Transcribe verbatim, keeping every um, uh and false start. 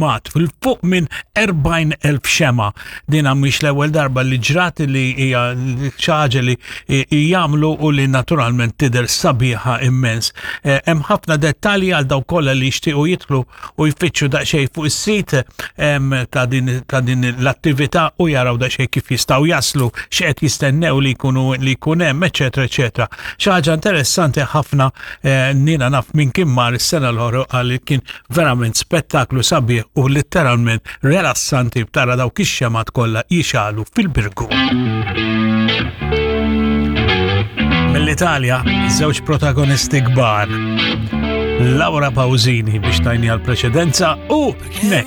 xemgħat, fil-fuq minn erbgħin elf xemgħa. Din mhix l-ewwel darba li ġrat, li hija xi ħaġa li jagħmlu u li naturalment tidher sabiħa immens. Eh, hemm ħafna dettalji għal dawk kollha li jixtiequ jidħlu u jfittxu daqsxejn fuq is-sit ta' din ta' din l-attività u jaraw daqsxejn kif jistgħu jaslu, x'qed jistennew li jkunu li jkun hemm, eċetera, eċetera. Xi ħaġa interessanti ħafna. eh, nina naf minn kien mar is-sena l-oħra għal kien verament spettaklu sabiħ u letteralment rilassanti tara dawk ix-xemgħat kollha jixegħlu fil-Birgu. Mill-Italja, żewġ protagonisti kbar. Laura Pausini biex tajni għal preċedenza u Nek.